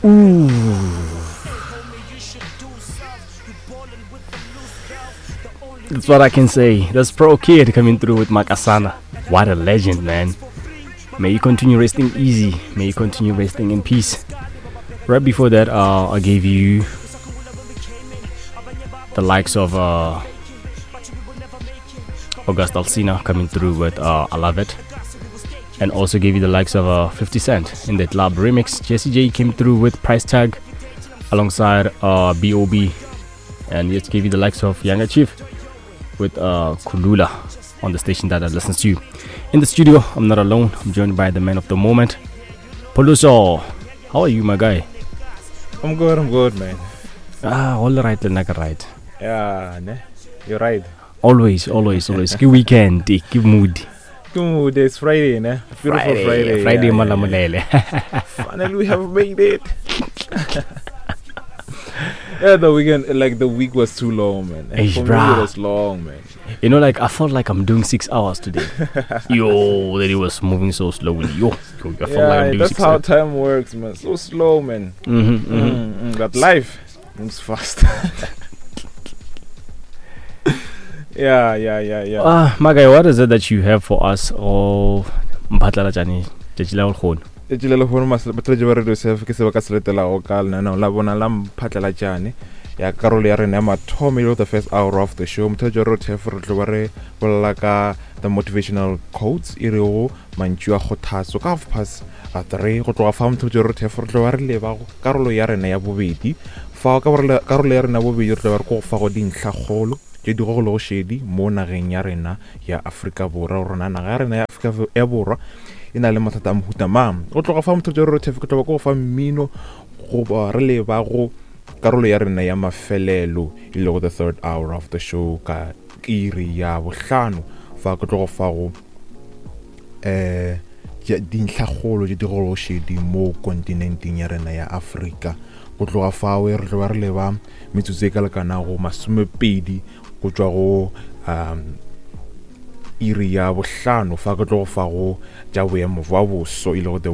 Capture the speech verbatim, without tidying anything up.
Ooh. That's what I can say. That's Pro Kid coming through with Makasana. What a legend, man. May you continue resting easy. May you continue resting in peace. Right before that, uh, I gave you the likes of uh, August Alsina coming through with uh, I Love It. And also gave you the likes of uh, fifty Cent in the Club remix. Jessie J came through with Price Tag alongside uh, B O B. And yet gave you the likes of Yanga Chief with uh, Kulula on the station that I listen to. In the studio, I'm not alone. I'm joined by the man of the moment, Poluso. How are you, my guy? I'm good, I'm good, man. Ah, all right, Lenaka, right. Yeah, ne? You're right. Always, always, always. Good weekend, good mood. Good mood. It's Friday, ne? Beautiful Friday, Friday. Friday, yeah, yeah, Malamulele. yeah. Finally, we have made it. Yeah, the weekend, like the week was too long, man. And Eish, for me, bruh. it was long, man. You know, like I felt like I'm doing six hours today. Yo, that it was moving so slowly. Yo, yo, I felt Yeah, like I'm doing that's six how hours. time works, man. So slow, man. Mm-hmm, mm-hmm. Mm, mm, but life moves fast. Yeah, yeah, yeah, yeah. Ah, my guy, what is it that you have for us? Oh, mphatlalatšane tšatši la lehono. Tšatši la lehono, mas-, batho ba Radio Surf, ke se ba ka se letelago ka lenaneo la bona la mphatlalatšane ya karolo ya rena ya mathomo, e le the first hour of the show. Motho wa Radio Surf, re tlo ba re bolela ka the motivational quotes, e rego mantšu a kgothatso ka half past three. Go tloga fa motho wa Radio Surf, re tlo ba re leba go karolo ya rena ya bobedi. Fa ka karolo ya rena ya bobedi, re tlo ba re ko go fa go dintlhakgolo tše di gogolo go šedi mo nageng ya rena ya Afrika Borwa. Rona naga ya rena ya Afrika ya Borwa e na le mathata a mohuta mang. Go tloga fa motho wa Radio Surf, ke tlo ba ko go fa mmino goba re leba go karolo ya rena ya mafelelo, e lego the third hour of the show ka iri ya bohlano. Fa ke tlo go fa go, eh, dintlhakgolo tše di gogolo šedi mo kontinenteng ya rena ya Afrika. Go tloga fao re tlo ba re leba metsotso e ka lekanago masomepedi go tšwa go, um, iri ya bohlano. Fa ke tlo go fa go tša boemo bja boso, e lego the